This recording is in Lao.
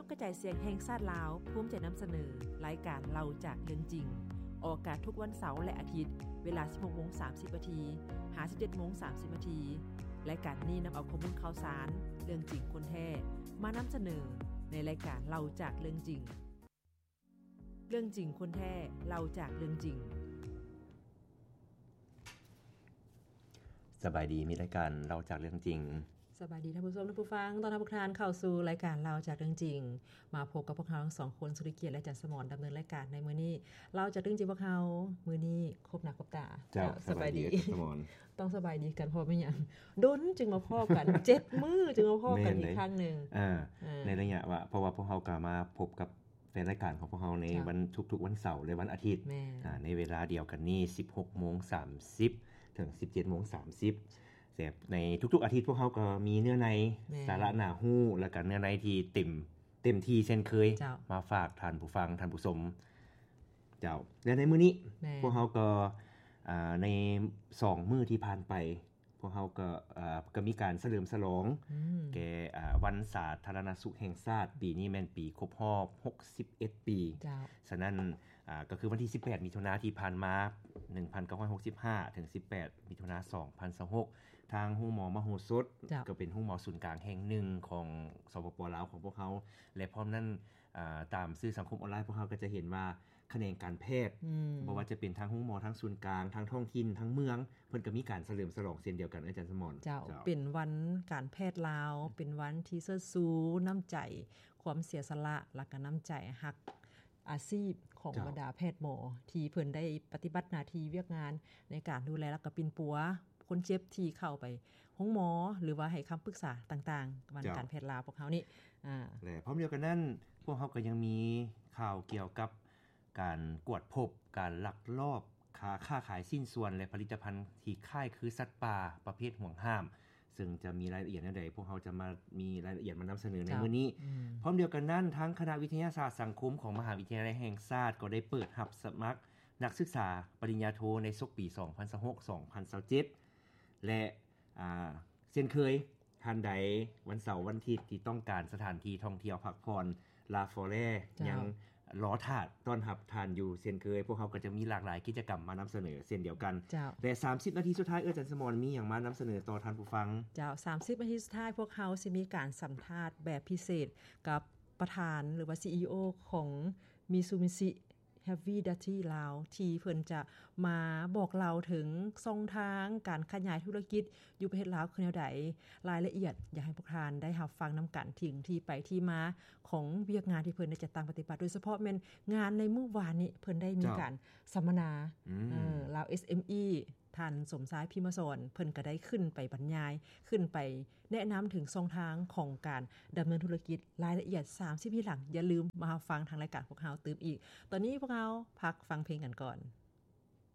ກກະຈາຍສຽງແຫ່ງຊາດລາວ ພູມໃຈນຳສະເໜີ ລາຍການເລົ່າຈາກເລື່ອງຈິງ ອອກອາກາດທຸກວັນເສົາ ແລະ ອາທິດ ເວລາ ສິບຫົກໂມງສາມສິບນາທີ ຫາ ສິບເຈັດໂມງສາມສິບນາທີ. ລາຍການນີ້ນຳເອົາຂໍ້ມູນຂ່າວສານ ເລື່ອງຈິງຄົນແທ້ ມານຳສະເໜີ ໃນລາຍການເລົ່າຈາກເລື່ອງຈິງ. ເລື່ອງຈິງຄົນແທ້ ເລົ່າຈາກເລື່ອງຈິງ. ສະບາຍດີ ມີລາຍການເລົ່າຈາກເລື່ອງຈິງ. ສະບາຍດີທ່ານຜູ້ຊົມ ທ່ານຜູ້ຟັງ, ຕ້ອນຮັບພວກທ່ານເຂົ້າສູ່ລາຍການເລົ່າຈາກເລື່ອງຈິງ. ມາພົບກັບພວກເຮົາທັງສອງຄົນ ສຸລິກຽດ ແລະ ຈັນສະໝອນ ດຳເນີນລາຍການໃນມື້ນີ້. ເລົ່າຈາກເລື່ອງຈິງພວກເຮົາ ມື້ນີ້ພົບໜ້າພົບຕາ. ເຈົ້າ ເຈົ້າ ສະບາຍດີ ສະບາຍດີ ອາຈານສະໝອນ. ຕ້ອງສະບາຍດີກັນ ເພາະແມ່ນຫຍັງ ດົນຈຶ່ງມາພໍ້ກັນ ເຈັດມື້ຈຶ່ງມາພໍ້ກັນອີກຄັ້ງໜຶ່ງ. ເອີ ເອີ ໃນໄລຍະວ່າ ເພາະວ່າພວກເຮົາກໍມາພົບກັບ ແຟນລາຍການຂອງພວກເຮົາໃນ ເຈົ້າ ວັນທຸກໆວັນເສົາ ແລະ ວັນອາທິດ ແມ່ນ ອາ ໃນເວລາດຽວກັນນີ້ ສິບຫົກໂມງສາມສິບ ເຖິງ ສິບເຈັດໂມງສາມສິບ. ແຕ່ໃນທຸກໆອາທິດ ພວກເຮົາກໍມີເນື້ອໃນ ແມ່ນ ສາລະໜ້າຮູ້ ແລ້ວກໍເນື້ອໃນທີ່ເຕັມ ເຕັມທີ່ເຊັ່ນເຄີຍ ເຈົ້າ ມາຝາກທ່ານຜູ້ຟັງ ທ່ານຜູ້ຊົມ. ເຈົ້າ ແລະ ໃນມື້ນີ້ ແມ່ນ ພວກເຮົາກໍ ອາ ໃນສອງມື້ທີ່ຜ່ານໄປ ພວກເຮົາກໍ ເອີ ກໍມີການສະເຫຼີມສະຫຼອງ ອືມ ແກ່ ອາ ວັນສາທາລະນະສຸກແຫ່ງຊາດ. ປີນີ້ແມ່ນປີຄົບຮອບຫົກສິບເອັດປີ. ເຈົ້າ ສະນັ້ນ ອາ ກໍຄືວັນທີສິບແປດມິຖຸນາທີ່ຜ່ານມາ ໜຶ່ງພັນເກົ້າຮ້ອຍຫົກສິບຫ້າ ເຖິງ ສິບແປດມິຖຸນາ ສອງພັນຊາວຫົກ ທາງໂຮງໝໍມະໂຫສົດ ເຈົ້າ ກໍເປັນໂຮງໝໍສູນກາງແຫ່ງໜຶ່ງຂອງ ສປປ ລາວ ຂອງພວກເຮົາ ແລະ ພ້ອມນັ້ນ ອາ ຕາມສື່ສັງຄົມອອນລາຍ ພວກເຮົາກໍຈະເຫັນວ່າ ຂະແໜງການແພດ ອືມ ບໍ່ວ່າຈະເປັນທາງໂຮງໝໍ ທາງສູນກາງ ທາງທ້ອງຖິ່ນ ທາງເມືອງ ເພິ່ນກໍມີການສະເຫຼີມສະຫຼອງເຊັ່ນດຽວກັນ ອາຈານສະໝອນ. ເຈົ້າ ເຈົ້າ ເປັນວັນການແພດລາວ ເປັນວັນທີ່ເຊີດຊູນ້ຳໃຈ ຄວາມເສຍສະຫຼະ ແລ້ວກໍນ້ຳໃຈຮັກອາຊີບຂອງ ເຈົ້າ ບັນດາແພດໝໍ ທີ່ເພິ່ນໄດ້ປະຕິບັດໜ້າທີ່ວຽກງານໃນການດູແລ ແລ້ວກໍປິ່ນປົວຄົນເຈັບທີ່ເຂົ້າໄປໂຮງໝໍ ຫຼືວ່າໃຫ້ຄຳປຶກສາຕ່າງໆ ວັນ ເຈົ້າ ການແພດລາວພວກເຮົານີ້. ອາ ແລະ ພ້ອມດຽວກັນນັ້ນ ພວກເຮົາກໍຍັງມີຂ່າວກ່ຽວກັບ ການກວດພົບການລັກລອບຄ້າ ຄ້າຂາຍຊິ້ນສ່ວນ ແລະ ຜະລິດຕະພັນທີ່ຄ້າຍຄືສັດປ່າປະເພດຫວງຫ້າມ, ເຊິ່ງຈະມີລາຍລະອຽດແນວໃດ ພວກເຮົາຈະມາມີລາຍລະອຽດມານຳສະເໜີໃນ ເຈົ້າ ມື້ນີ້. ອືມ ພ້ອມດຽວກັນນັ້ນ ທາງຄະນະວິທະຍາສາດສັງຄົມຂອງມະຫາວິທະຍາໄລແຫ່ງຊາດ ກໍໄດ້ເປີດຮັບສະໝັກນັກສຶກສາປະລິນຍາໂທໃນສົກປີສອງພັນຊາວຫົກ ສອງພັນຊາວເຈັດ ແລະ ອາ ເຊັ່ນເຄີຍ ທ່ານໃດວັນເສົາວັນອາທິດທີ່ຕ້ອງການສະຖານທີ່ທ່ອງທ່ຽວພັກຜ່ອນ ລາຟອແລ ເຈົ້າ ຍັງລໍຖ້າຕ້ອນຮັບທ່ານຢູ່ເຊັ່ນເຄີຍ. ພວກເຮົາກໍຈະມີຫຼາກຫຼາຍກິດຈະກຳມານຳສະເໜີເຊັ່ນດຽວກັນ. ເຈົ້າ ແລະ ສາມສິບນາທີສຸດທ້າຍ ເອື້ອຍຈັນສະໝອນ ມີຫຍັງມານຳສະເໜີຕໍ່ທ່ານຜູ້ຟັງ? ເຈົ້າ ສາມສິບນາທີສຸດທ້າຍ ພວກເຮົາຊິມີການສຳພາດແບບພິເສດກັບປະທານ ຫຼືວ່າ ຊີອີໂອ ຂອງ Mitsubishi Heavy Duty ລາວ ທີ່ເພິ່ນຈະມາບອກເລົ່າເຖິງຊ່ອງທາງການຂະຫຍາຍທຸລະກິດຢູ່ປະເທດລາວຄືແນວໃດ, ລາຍລະອຽດຢາກໃຫ້ພວກທ່ານໄດ້ຮັບຟັງນຳກັນ ເຖິງທີ່ໄປທີ່ມາຂອງວຽກງານທີ່ເພິ່ນໄດ້ຈັດຕັ້ງປະຕິບັດ, ໂດຍສະເພາະແມ່ນງານໃນມື້ວານນີ້ ເພິ່ນໄດ້ມີ ເຈົ້າ ການສຳມະນາ ອືມ ເອີ ລາວ ເອສເອັມອີ ທ່ານສົມຊາຍ ພິມມະສອນ ເພິ່ນກໍໄດ້ຂຶ້ນໄປບັນຍາຍ ຂຶ້ນໄປແນະນຳເຖິງຊ່ອງທາງຂອງການດຳເນີນທຸລະກິດ. ລາຍລະອຽດສາມສິບທີຫຼັງ ຢ່າລືມມາຮັບຟັງທາງລາຍການພວກເຮົາຕື່ມອີກ. ຕອນນີ້ພວກເຮົາພັກຟັງເພງກັນກ່ອນ.